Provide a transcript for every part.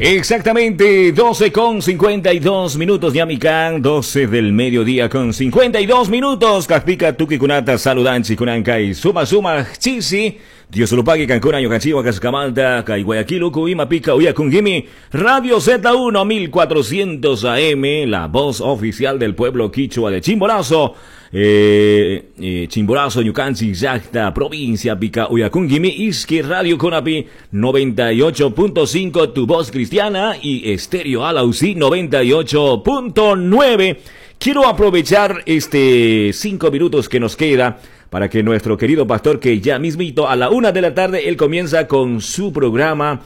Exactamente, 12 con 52 minutos, ñami kan, 12 del mediodía con 52 minutos. Kajpika tukikunata saludanchik kunanka suma suma chisi. Dios lo pague kankuna ñukanchikwan kashkamanta kay Guayaquil uku imapika uyakunkimi Radio Z1 1400 AM, la voz oficial del pueblo quichua de Chimborazo. Chimborazo, ñukanchik llakta, provincia pika uyakunkimi, Iski Radio Conapi 98.5, tu voz cristiana, y Estéreo Alausí 98.9. Quiero aprovechar este 5 minutos que nos queda para que nuestro querido pastor, que ya mismito a la 1 de la tarde, él comienza con su programa,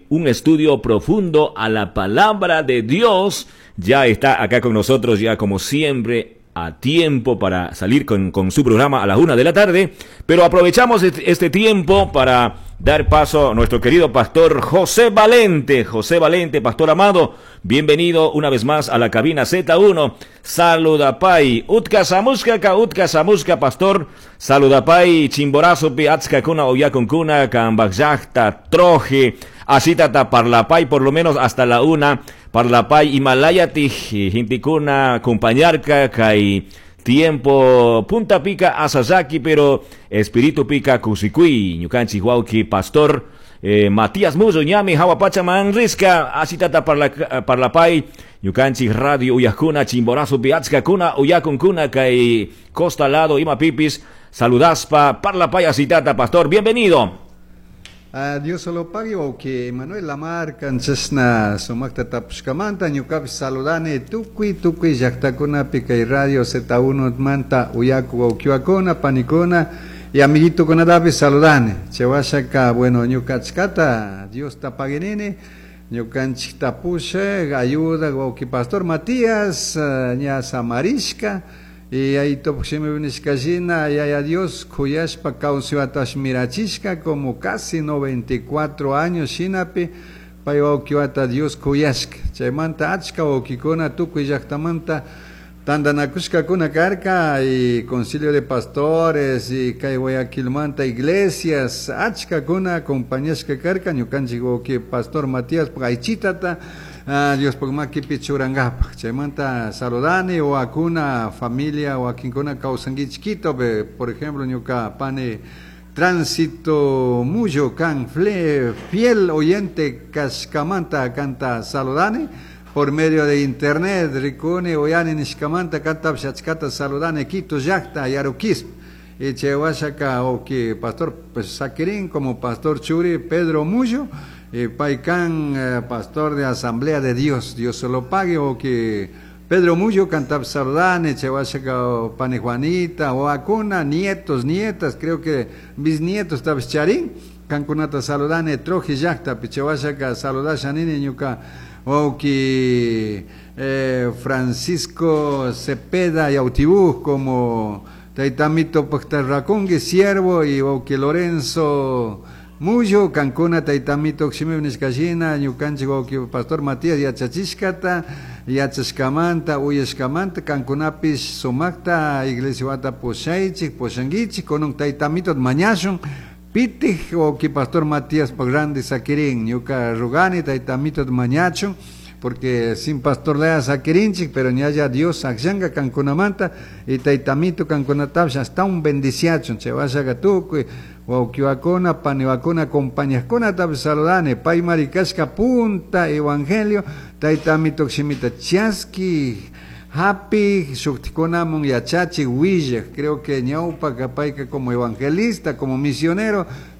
un estudio profundo a la palabra de Dios. Ya está acá con nosotros, ya como siempre, a tiempo para salir con su programa a la 1 de la tarde. Pero aprovechamos este tiempo para dar paso a nuestro querido pastor José Valente. José Valente, pastor amado, bienvenido una vez más a la cabina Z1. Saludapay, Utka shamushka ka, utka shamushka, pastor. Saludapay, Chimborazo, pi achkakuna, uyakunkuna, kambaj llakta, Troje. Asitata parlapay, por lo menos hasta la 1. Parlapay, imalayatij, gentekuna, acompañarka, kay tiempo punta pika asasaki, pero espíritu pika kusikui, ñukanchik wawki pastor Matías Muzo, ñami hawa pachaman rishka, asitata parlapay, ñukanchik radio uyakuna, Chimborazo pi achkakuna, uyakunkuna, kay costa lado, imapipis, saludaspa, parlapay asitata, pastor, bienvenido. Dios solo pague que Manuel Lamar chashna sumakta tapushkamanta ñukapish saludani tukuy tukuy llaktakunapi kay radio Z1 manta uyaku wawkiwakuna panikuna y amiguitokunatapish saludani. Chawashaka, bueno, ñuka achkata Diosta paguinini ñukanchikta pushak ayuda wawki pastor Matías ña samarishka y ahí topshimi nishkashina yaya Dios kuyashpa kawsaytash mirachishka como casi 94 años shinapi pay wawkiwata Dios kuyashka. Chaymanta achka wawkikuna tukuy llaktamanta tantanakushkakuna karka y concilio de pastores y kay Guayaquilmanta iglesias achkakuna acompañashka karka ñukanchik wawki pastor Matías aychitata Diospuk makipi churankapaj. Chaymanta saludani wakuna familia wakinkuna kawsankichik Quitopi, por ejemplo, ñuka pani Tránsito Muyo kan fiel oyente kashkamanta kanta saludani por medio de internet rikuni uyani nishkamanta kantapish achkata saludani Quito llakta Yaruquisp. Y chay washaka wawki pastor pues sakirin como pastor churi Pedro Muyo y pay kan pastor de Asamblea de Dios. Dios se lo pague wawki Pedro Muyo kantap saludani. Chay washaka pani Juanita wawakuna, nietos, nietas, creo que bisnietos tapish charin, kankunata saludani Troje llaktapi. Chay washaka saludasha nini ñuka wawki Francisco Cepeda Yautibú como taytamito paktarrakungi siervo y wawki Lorenzo Muyo kankuna taytamito shimipi nishkashina ñukanchik wawki pastor Matías yachachishkata yachashkamanta uyashkamanta kankunapish sumakta iglesiawata pushaychik pushankichik. Kunan taytamito mañashun pitik wawki pastor Matías ranti sakirin. Ñuka rugani taytamito mañachun porque sin pastor lea sakirinchik, pero ñalla Dios akllanka kankunamanta y taytamito kankunatapish hasta un bendiciachun. Chay washaka tukuy wawkiwakuna paniwakuna compañajkunatapish saludani. Paymari kashka punta evangelio taytamito shimita chaski hapi shuktikunamun yachachik willak. Creo que ñawpaka payka como evangelista, como misionero.